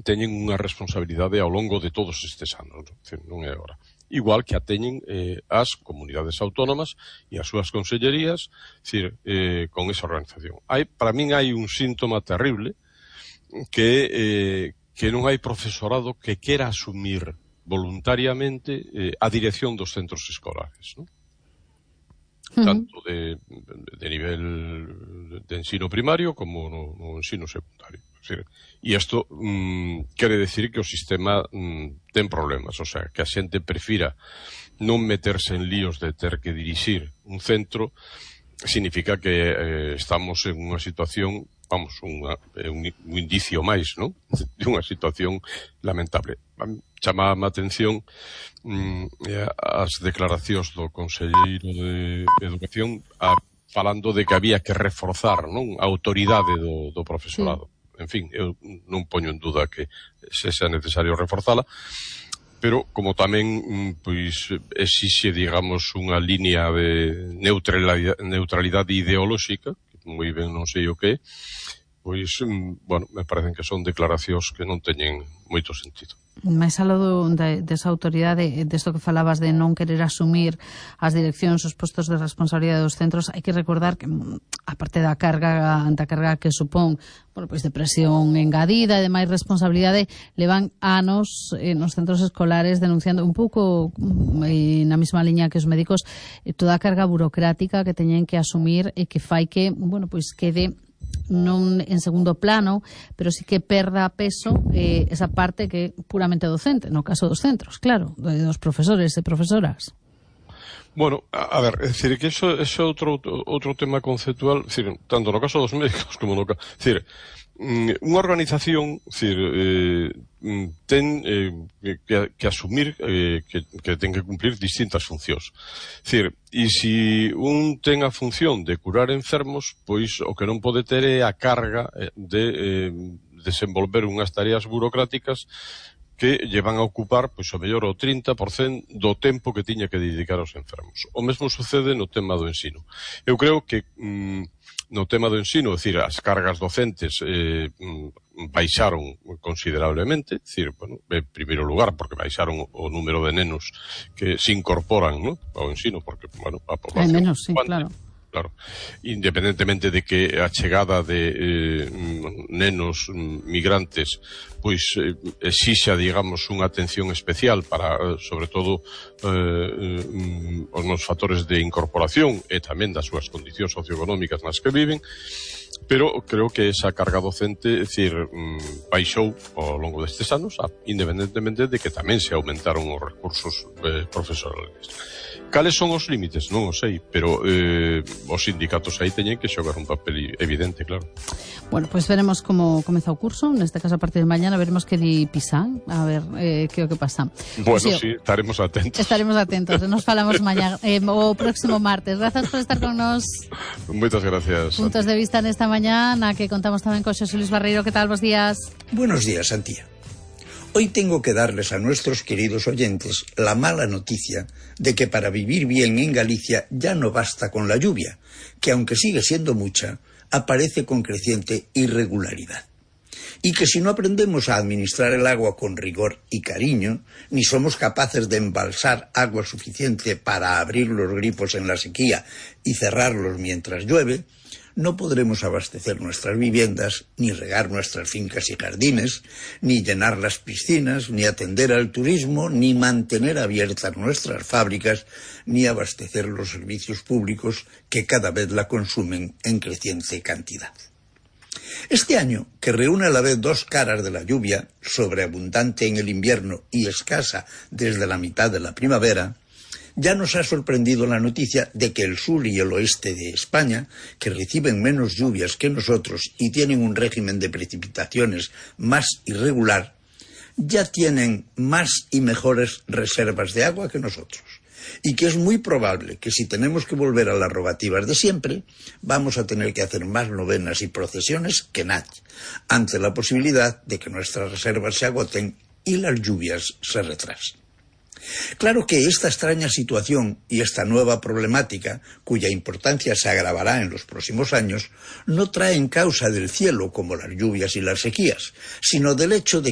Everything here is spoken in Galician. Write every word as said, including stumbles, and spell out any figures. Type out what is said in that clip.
teñen unha responsabilidade ao longo de todos estes anos, non é agora. Igual que a teñen eh, as comunidades autónomas e as súas consellerías, decir, eh, con esa organización. Hai, para min hai un síntoma terrible que, eh, que non hai profesorado que quera asumir voluntariamente eh, a dirección dos centros escolares, non? Tanto de, de nivel de ensino primario como no, no ensino secundario. E isto mm, quere decir que o sistema mm, ten problemas, o sea, que a xente prefira non meterse en líos de ter que dirixir un centro, significa que eh, estamos en unha situación, vamos, unha, un, un indicio máis, non? De unha situación lamentable. Chama a atención mm, as declaracións do Conselleiro de Educación a, falando de que había que reforzar, non, a autoridade do, do profesorado. Sí. En fin, eu non poño en duda que se sea necesario reforzala, pero como tamén pois exixe, digamos, unha línea de neutralidade, neutralidade ideolóxica, que moi ben non sei o que, pois, bueno, me parecen que son declaracións que non teñen moito sentido. Mais aló de, desa autoridade, desto que falabas de non querer asumir as direccións, os postos de responsabilidade dos centros, hai que recordar que, aparte da carga, da carga que supón, bueno, pois de presión engadida e de máis responsabilidade, levan anos eh, nos centros escolares denunciando un pouco eh, na mesma liña que os médicos, eh, toda a carga burocrática que teñen que asumir e que fai que, bueno, pois quede non en segundo plano, pero sí que perda peso eh, esa parte que é puramente docente, no caso dos centros, claro, dos profesores e profesoras. Bueno, a, a ver, é dicir, que eso é outro, outro tema conceptual, dicir, tanto no caso dos médicos como no caso, dicir, unha organización, dicir, eh, ten eh, que, que asumir eh, que, que ten que cumplir distintas funcións. Dicir, e se un ten a función de curar enfermos, pois o que non pode ter é a carga de eh, desenvolver unhas tareas burocráticas que llevan a ocupar, pois, o mellor o trinta por cento do tempo que tiña que dedicar aos enfermos. O mesmo sucede no tema do ensino. Eu creo que mm, no tema do ensino, é dicir, as cargas docentes eh, baixaron considerablemente, é dicir, bueno, en primeiro lugar, porque baixaron o número de nenos que se incorporan, ¿no?, ao ensino, porque, bueno, a población... Hai menos, sí, claro. Claro, independentemente de que a chegada de eh, nenos migrantes pois eh, exixa, digamos, unha atención especial para, sobre todo, eh, os nos fatores de incorporación e tamén das súas condicións socioeconómicas nas que viven, pero creo que esa carga docente, é dicir, baixou ao longo destes anos, independentemente de que tamén se aumentaron os recursos eh, profesionales. Cales son os límites? Non o sei, pero eh, os sindicatos aí teñen que xogar un papel evidente, claro. Bueno, pois pues veremos como comeza o curso, neste caso a partir de mañana veremos que di Pisán, a ver eh, que o que pasa. Bueno, si, sí, estaremos atentos. Estaremos atentos, nos falamos mañana, eh, o próximo martes. Grazas por estar con nos. Moitas gracias. Puntos de vista nesta mañá, na que contamos tamén con Xosé Luis Barreiro. Que tal, bos días? Buenos días, Antía. Hoy tengo que darles a nuestros queridos oyentes la mala noticia de que para vivir bien en Galicia ya no basta con la lluvia, que aunque sigue siendo mucha, aparece con creciente irregularidad. Y que si no aprendemos a administrar el agua con rigor y cariño, ni somos capaces de embalsar agua suficiente para abrir los grifos en la sequía y cerrarlos mientras llueve, no podremos abastecer nuestras viviendas, ni regar nuestras fincas y jardines, ni llenar las piscinas, ni atender al turismo, ni mantener abiertas nuestras fábricas, ni abastecer los servicios públicos que cada vez la consumen en creciente cantidad. Este año, que reúne a la vez dos caras de la lluvia, sobreabundante en el invierno y escasa desde la mitad de la primavera, ya nos ha sorprendido la noticia de que el sur y el oeste de España, que reciben menos lluvias que nosotros y tienen un régimen de precipitaciones más irregular, ya tienen más y mejores reservas de agua que nosotros. Y que es muy probable que si tenemos que volver a las rogativas de siempre, vamos a tener que hacer más novenas y procesiones que nadie, ante la posibilidad de que nuestras reservas se agoten y las lluvias se retrasen. Claro que esta extraña situación y esta nueva problemática, cuya importancia se agravará en los próximos años, no traen causa del cielo como las lluvias y las sequías, sino del hecho de